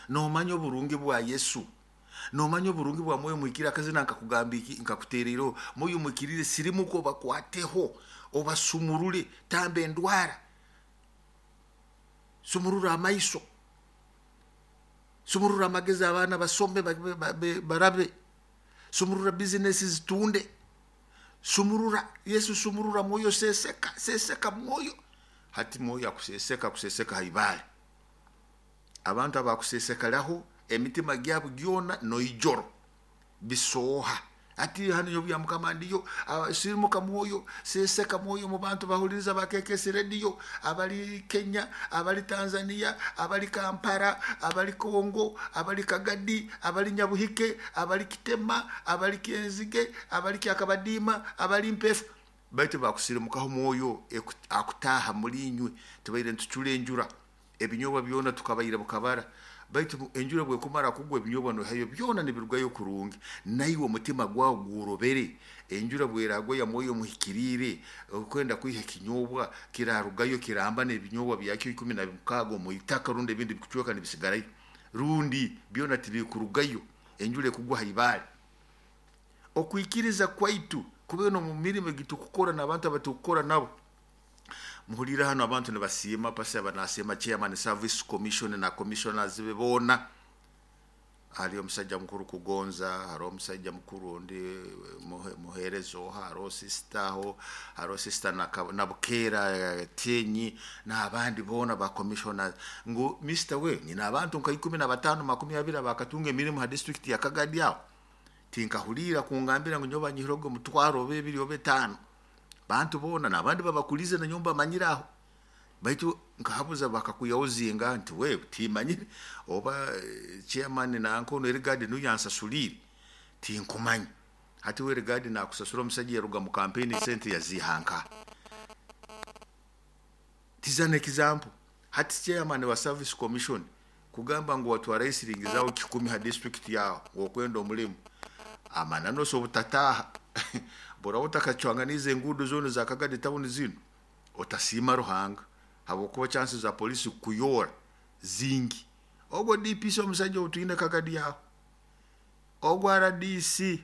Nomanya oburungi bwa Yesu, nomanya oburungi bwa Mwoyo Muhikiriire. Akazina nkakugamba iki, nkakutereireho Mwoyo Muhikiriire, sirimuka obakwateho, obasumurure, tamba endwara, sumurura amaiso, sumurura amagezi, abaana basome barabe, sumurura bizinesi zitunde, sumurura Yesu, sumurura Mwoyo, seseka, seseka Mwoyo. Hati Mwoyo akuseseka, akuseseka haibale. Abantu abakusesekaraho emitima gyabo gyona noijoro bisooha. Hati hano nyowe bya Mukama ndiyo, sirimuka Mwoyo, seseka Mwoyo mu bantu bahuliriza ba KKS Radio, abali Kenya, abali Tanzania, abali Kampala, abali Kongo, abali Kagadi, abali Nyabuhike, abali Kitema, abali Kenzige, abali Kyakabadima, abali Mpefu. Baitu bakusirimukaho Mwoyo akutaha muri inywe. Tubaire nitucura enjura, ebinyobwa byona tukabaire bukabara, baitu enjura bwekumara kugwa ebinyobwa nohayo byona nibirugayo kurungi. Naiwe omutima gwawe gworobere, enjura bweragwa ya Mwoyo Muhikiriire, okwenda kwiha ekinyobwa kirarugayo kiramba n'ebinyobwa byakyo 16 omu itaka, rundi ebindi bikucweka nibisigarayo, rundi byona tibikurugayo, enjura ekugwa haibale. Okwikiriza kwaitu kube no mu mirimo egitukukora n'abantu abatukukora nabo. Muhulire hano abantu nibasiima pasi, abanasiima chairman service commission na commissioners be boona. Hariyo omusajja mukuru Kugonza, hariho omusajja mukuru ondi muheereza oha, hariho sister aho, hariho sister Nabukeera Tenyi n'abandi boona ba commissioners. Ngu Mr. we nyina abantu nka 15 20 abakatunga emirimu ha district ya Kagadi aho. Tinkahulira kungambira ngu nyowe banyihirogo omutwaro oba ebiri oba 5. Bantu boona n'abandi babakulize na nyomba bamanyire aho. Baitu nkahabuza bakakuyaho zinga nti we timanyire oba chairman nankono Erigadi nuyo yansasulire tinkumanya. Hati we Erigadi nakusasura omusajja yaruga mu campaign sente yazihanka. Tiza an example. Hati chairman wa service commission kugamba ngu watwara esiringi zawe 10 ha district yawe okwenda omulimu, amanano so obutataha bora utakacwanganiza enguudo zona za Kagadi town zino, otasiima Ruhanga habwokuba chances za polisi kukuyora zingi. Ogwo DPC omusajja otwine Kagadi yawe, ogwo RDC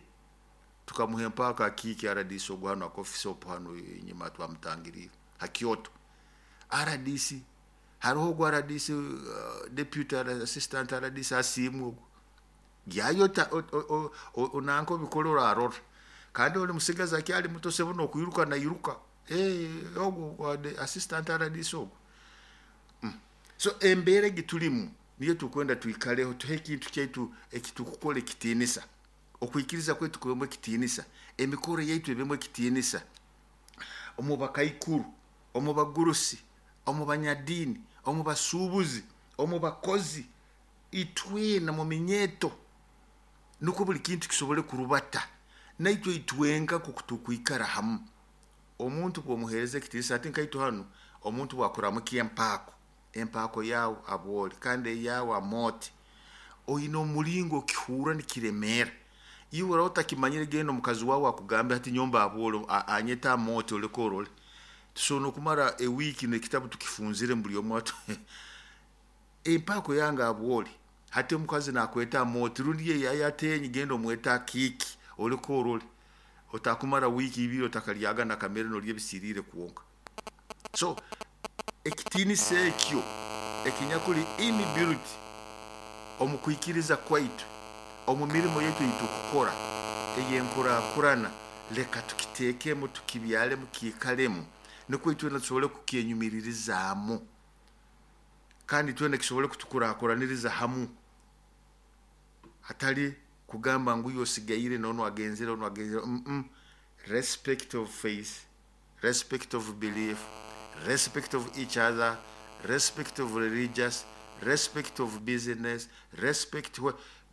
tukamuha empaka kiki RDC ogwo hano akofisi opo hano enyuma twamutangirire ha Kyoto. RDC hariho ogwo RDC, deputy assistant RDC asiimwe ogwo gyayo onanka obikora orarora, kandi oli musigazi akyali muto sebo nokwiruka nairuka. Ogwo assistant RDC ogwo. So embeera egitulimu niyo tukwenda twikaleho, tuhe ekintu kyaitu ekitukukora ekitiinisa, okwikiriza kwaitu kubemu ekitiinisa, emikoro yaitu ebemu ekitiinisa, omu bakaikuru, omu bagurusi, omu banyadiini, omu basuubuzi, omu bakozi, itwena mu minyeeto, nukwo buli kintu kisobole kurubata. Naitwe itwenka kutukwikara hamu. Omuntu bw'omuheereza ekitiinisa, ati nkaitu hano omuntu bwakuramukia empaako, empaako yawe abwoli kandi eyawe amooti, oyine omulingo okihurra nikiremeera. Iwe oraba otakimanyire, genda omukazi wawe akugambe hati nyomba abwoli anyeta amooti oleke orole. Tusobora n'okumara ewiiki n'ekitabu tukifunzire buli omu atu empaako yange abwoli, hati omukazi nakweta amooti rundi ye yayatenyi, genda omweta akiiki oleke orole. Otakumara wiiki ibiri otakalyaga nakamere nolya ebisiriire kwonka. So ekitiinisa ekyo ekinyakuli inbuilt omu kwikiriza kwaitu, omu mirimo yaitu eitukukora ey'enkurakurana, leka tukiteekemu, tukibyalemu, kiikalemu, nukwo itwena tusobole kukyenyumiririzaamu kandi twena kisobole kutukurakuraniriza hamu, hatali kugamba ngu osigaire nono agenzere ono agenzere. Respect of faith, respect of belief, respect of each other, respect of religious, respect of business, respect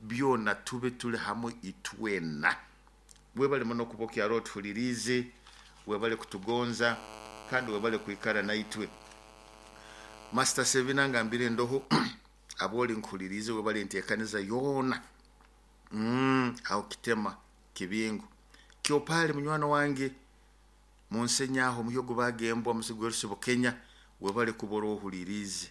byona tube tuli hamu itwena. Webale muno kuba okyaro otuhuliriize, webale kutugonza kandi webale kwikara naitwe. Master Sevina ngambire ndoho aboli nkuhuliriize, webale enteekaniza yoona. Aho Kitema Kibingo Kyopali munywani wange munsenyaho omuhyogo bagembwa musigwerusibo Kenya, webale kuba orohuliriize.